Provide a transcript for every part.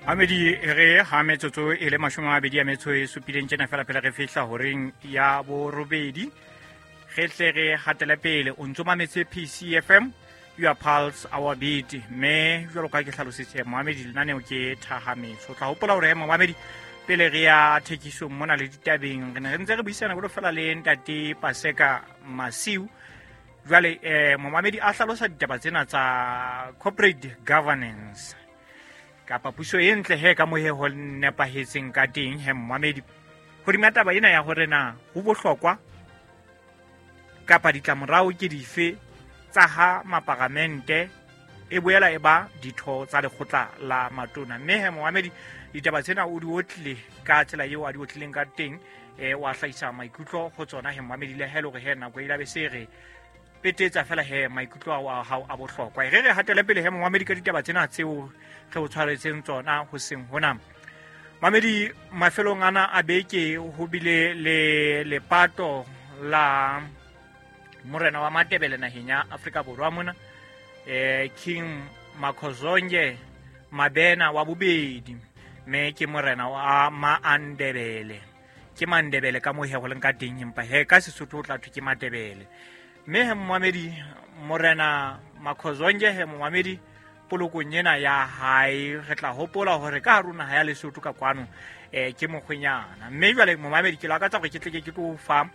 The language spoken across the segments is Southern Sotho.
Amedi re ha metsotso e le 27 tjena fela pele re fihla horeng ya borobedi, re tle re hatele pele. O ntso mametse PCFM, your pulse our beat. Mme jwalo ka ke hlalositse moamedi, lenaneo ke Thahametso. O tla hopola hore moamedi, pele re ya thekisong mona le ditabeng, re ne re ntse re buisana jwalo fela le ntate Paseka Masiu. Jwale momamedi a hlalosa ditaba tsena tsa corporate governance kapa puso e ntle he ka mohe ho nepahetseng ka teng. He momamedi, hodima taba ena ya hore na ho bohlokwa kapa ditlamorao ke dife tsa ha maparamente e boela e ba ditho tsa lekgotla la matona. Mme he momamedi, ditaba tsena o di otlile ka tsela eo a di otlileng ka teng, wa hlahisa maikutlo ho tsona. He momamedi, le he le hore he nako e labe se re petetsa fela, he maikutlo ao a hao a bohlokwa. Re re hatele pele he momamedi ka ditaba tsena tseo re o tshwaretseng tsona hoseng hona. Mamedi, mafelong ana a beke ho bile le lepato la morena wa Matebele naheng ya Afrika Borwa mona, King Makhozonke Mabena wa bobedi, mme ke morena wa Maandebele. Ke Mandebele ka moo he go leng ka teng, empa he ka Sesotho o tla thwe ke Matebele. Mme he momamedi, morena Makhozonke he momamedi, polokong ena ya hae re tla hopola hore ka hare ho naha ya Lesotho ka kwano ke mokgwenyana. Mme jwale momamedi, ke lakatsa hore ke tle ke tlo fa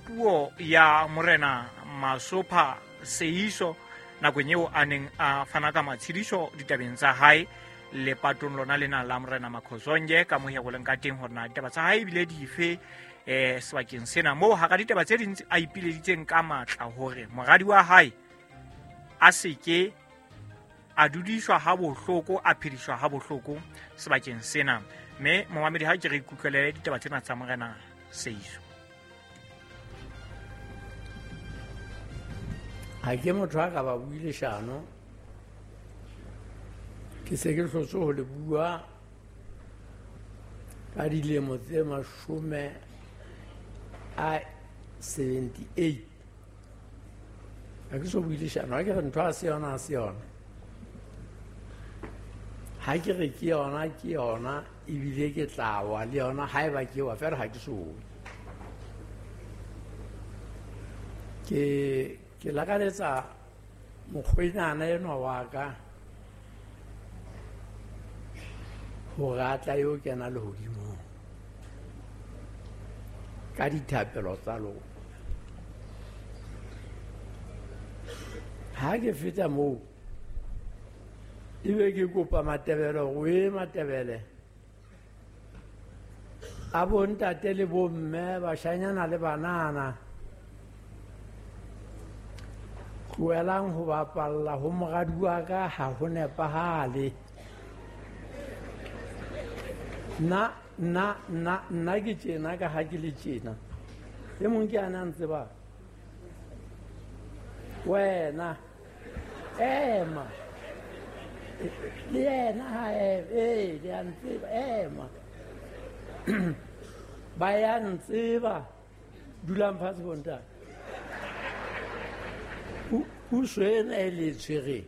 puo ya morena Masopha Seiso nakong eo a neng a fana ka matshediso ditabeng tsa hae lepatong lona lena la morena Makhozonke, ka mohe go leng ka teng, hore na ditaba tsa hae ebile dife sebakeng sena, moo hara ditaba tse ding a ipileditseng ka matla hore moradi wa hae a seke a dudiswa ha bohloko, a phediswa ha bohloko sebakeng sena. Mme momamedi, ha ke re ikutlwele ditaba tsena tsa morena Seiso. Ha ke motho a ka ba bue leshano, ke se ke hlotse ho le bua ka dilemo tse 78. Ha ke so bue leshano, ha ke re ntho ha se yona, ha se yona. Ha ke re ke yona, ke yona, ebile ke tla wa le yona haeba ke wa fela, ha ke so we. Ke lakaletsa mokgwenyana enwa wa ka hore a tla yo kena lehodimong ka dithapelo tsa lona. Ha ke feta moo, ebe ke kopa Matebele hore e Matebele a bontate le bomme, bashanyana le banana, tlohelang ho bapalla ho moradi wa ka, ha ho nepahale. Nna, nna, nna, nna ke tjena ka ha ke le tjena. E mong ke ana a ntseba. Wena, ema. Le yena ha ema, ee, le a ntseba, ema. Ba ya ntseba. Dulang fatshe bontate. Puso ena e le tshwereng